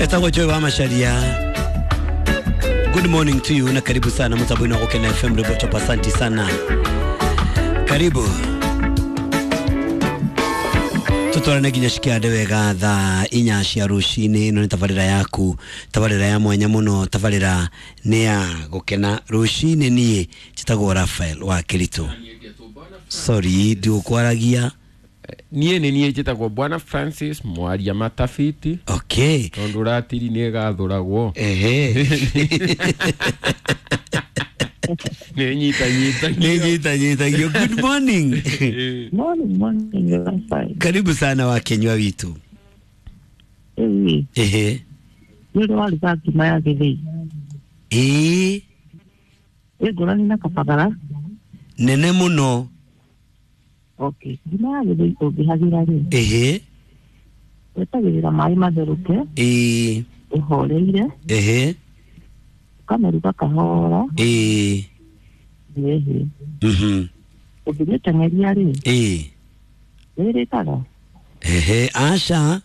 Etagwo Joy wa Macharia. Good morning to you na karibu sana mtabwino wa Gukena FM Roboto, asante sana. Karibu. Tutwarane nginya cikiande wega thaa inya cia rucini. Ino ni tabarira yaku, tabarira ya mwanya muno, tabarira ni ya gukena rucini. Nie njitagwo Rafael wa Kiritu. Sorry, ndigukwaragia. Niĩ nĩ niĩ njĩtagwo Bwana Francis mwaria matabiti. Okay. Tondũ ratiri nĩ ĩgathũragwo. Ehe. Nĩ nyitanyitagio. Nĩ nyitanyitagio. Good morning. Morning, morning, Rafael. Karibu sana wa Kenywa witu. Ĩĩ, Ehe. nĩ ũrĩ waruga ngima ya gĩthĩi? Ĩĩ. Ĩ ngũrani na kabagara? Nene muno. Okay. Ngima ya gĩthĩi ũngĩhagĩra rĩ, Ehe. wetagĩrĩra maĩ matherũke, Ĩĩ. ũhoreire, Ehe. ũkamĩruga kahora, Ĩĩ. ĩhĩ. Mhm. Ũngĩmĩteng'eria rĩ, Ĩĩ. nĩĩrĩkaga? Ehe, aca.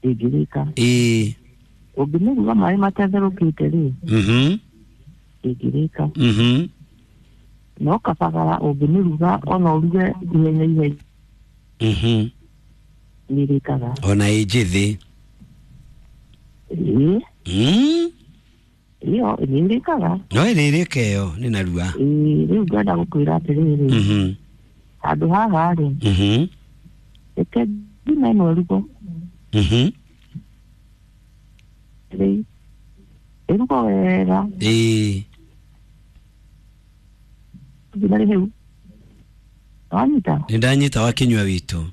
Ndĩngĩrĩka. Ĩĩ. Ũngĩmĩruga maĩ matatherũkĩte rĩ, Mhm. ndĩngĩrĩka. Mhm. No kabagara ũngĩmĩruga ona ũruge ihenya ihenya, Mhm. nĩĩrĩkaga. Ona ĩ njĩthĩ. Ĩĩ, Mm. ĩyo nĩĩrĩkaga. No ĩrĩrĩka ĩyo nĩ narua. Ĩĩ, rĩu ngwenda gũkwĩra atĩrĩrĩ, Mhm. handũ haha rĩ, Mhm. reke ngima ĩno ĩrugwo. Mhm. Rĩ, ĩrugwo wega, Ĩĩ. nginya rĩhĩu. Wanyita? Nĩ ndanyita wa Kĩnyua witũ.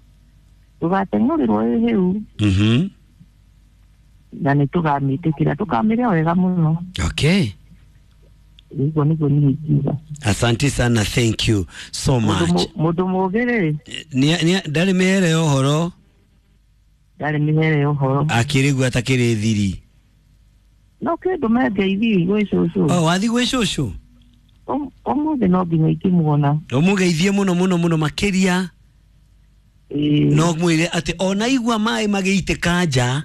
Ndũgateng'ũrĩrwo ĩhĩu, Mhm. na nĩ tũkamĩtĩkĩra, tũkamĩrĩa wega mũno. Okay. Ũguo nĩguo niĩ ingiuga. Asante sana, thank you so much. Mũndũ mũũgĩ rĩ, Ndarĩ mĩhere ũhoro. Ndarĩ mĩhere ũhoro. Akĩrĩgua atakĩrĩ thiri. No kĩndũ mengeithi gwĩ cũcũ. Oh, wathi gwĩ cũcũ? Ũmũthĩ no nginya ingĩmuona. Ũmũgeithie mũno mũno mũno makĩria. Ĩĩ. No mwĩre atĩ ona igua maĩ magĩitĩka nja.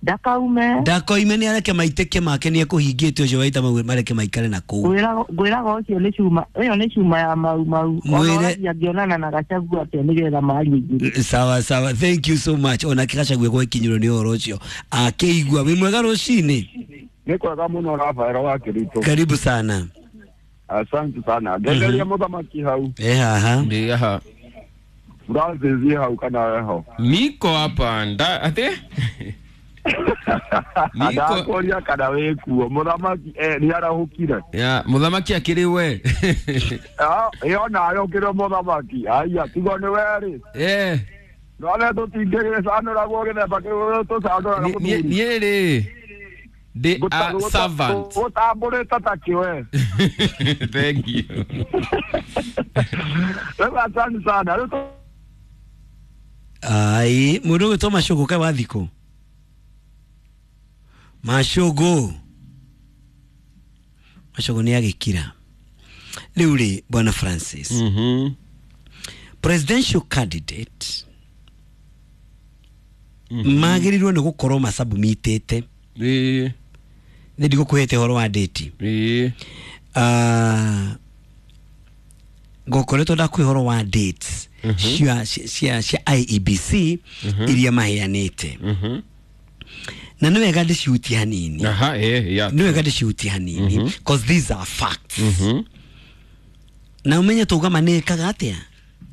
Ndakaume. Ndakoime, nĩ areke maitĩke make, nĩ ekũhingĩte ũcio waita mau mareke maikare na kũu. Ngwĩraga ũcio nĩ cuma, ĩyo nĩ cuma ya mau mau. Ona Mwĩre- ũrathiĩ angĩonana na Gachagua atĩa nĩgetha marie igũrũ. Sawa sawa, thank you so much. Ona Gachagua gwekinyirwo nĩ ũhoro ũcio akĩigua. Wĩ mwega rũcinĩ? Nĩ kwega mũno Rafael wa Kĩritũ. Karibu sana. Asante sana. Ngenderia mũthamaki hau. E haha. Ndĩ haha. Francis hau kana eho? Niko hapa nda ate Niko Ndakũria kana wĩ kuo mũthamaki nĩ arahũkire. Ya mũthamaki akĩrĩ we. Ah, ĩyo nayo ũkĩrĩ mũthamaki aya tigo nĩ werĩ. Eh. No nĩ tũtingĩgĩcanũragwo gĩthemba kĩu tũcanũraga mũthuri. Niĩ rĩ ndĩ a servant. Gũtambũrĩte ta kĩwe. Thank you. Rĩu asante sana. Rĩu Ai, mũndũ ũgwĩtwo Macũgũ kaĩ wathikũ Macũgũ. Macũgũ nĩ agĩkira rĩu rĩ. Bwana Francis, presidential candidate magĩrĩirwo nĩ gũkorwo masubmitĩte. Ĩĩ. Nĩ ndigũkũhete ũhoro wa date. Ĩĩ. Ngokoretwo ndakũhe ũhoro wa dates cia IEBC iria maheanĩte, na nĩ wega ndĩcihutie hanini. Aha, eh, ya. Nĩ wega ndĩcihutie hanini cause these are facts, na ũmenye tũgama nĩ ĩkaga atĩa,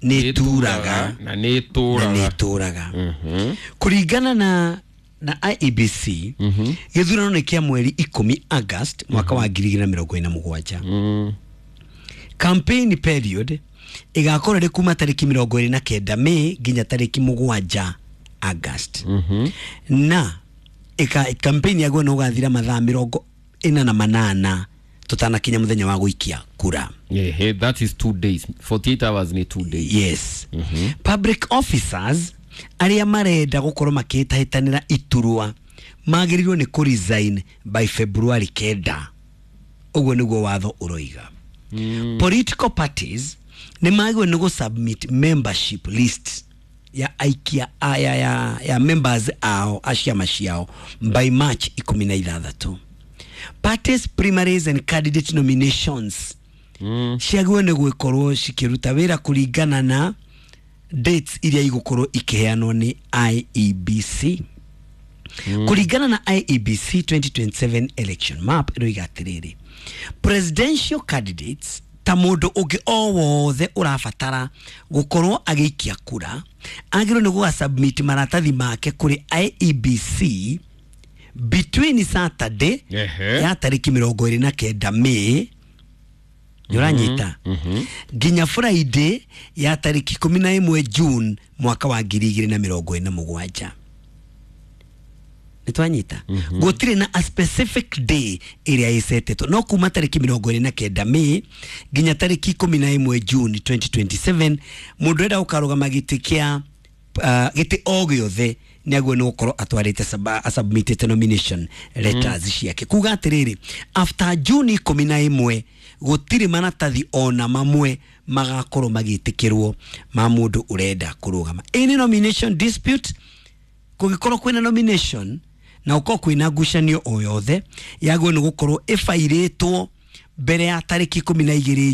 nĩ ĩturaga. Na nĩ Na ĩtũraga. nĩ ĩtũraga. Kũringana na IEBC, gĩthurano nĩ kĩa mweri 10 August mwaka wa 2027. Campaign period ĩgakorwo ĩrĩ kuma tarĩki 29 May nginya tarĩki 7 August, na ĩka campaign yaguo nĩ ũgathira mathaa 48 tũtanakinya mũthenya wa gũikia kura. Ehe, that is 2 days. 48 hours ni 2 days. Yes. Public officers arĩa marenda gũkorwo makĩhĩtahĩtanĩra iturwa magĩrĩirwo nĩ kũ resign by February 9. Ũguo nĩguo watho ũroiga. Political parties nĩ magĩrĩirwo nĩ gũ submit membership list. Ya aikia ya members ao a ciama ciao by March 16. Parties primaries and candidate nominations ciagĩrĩirwo nĩ gwĩkorwo cikĩruta wĩra kũringana na dates iria igũkorwo ikĩheanwo nĩ IEBC. Kũringana na IEBC 2027 election map, ĩroiga atĩrĩrĩ, presidential candidates ta mũndũ ũngĩ o wothe ũrabatara gũkorwo agĩikia kura agĩrĩirwo nĩ gũga submit maratathi make kũrĩ IEBC between Saturday ya tarĩki 29 May, nĩũranyita, nginya Friday ya tarĩki 11 June mwaka wa 2027. Nĩtwanyita? Gũtirĩ na a specific day ĩrĩa ĩcetetwo, no kuma tarĩki 29 May nginya tarĩki 11 June 2027, mũndũ ũrenda gũkarũgama gĩtĩ kĩa gĩtĩ o gĩothe nĩ agĩrĩirwo nĩ gũkorwo atwarĩte asubmitĩte nomination letters ciake. Kuga atĩrĩrĩ, after June 11 gũtirĩ maratathi ona mamwe magakorwo magĩtĩkĩrwo ma mũndũ ũrenda kũrũgama. Any nomination dispute, kũngĩkorwo kwĩna nomination na gũkorwo kwĩna ngucanio o yothe, yagĩrĩirwo nĩ gũkorwo ĩbairĩtwo mbere ya tarĩki 12.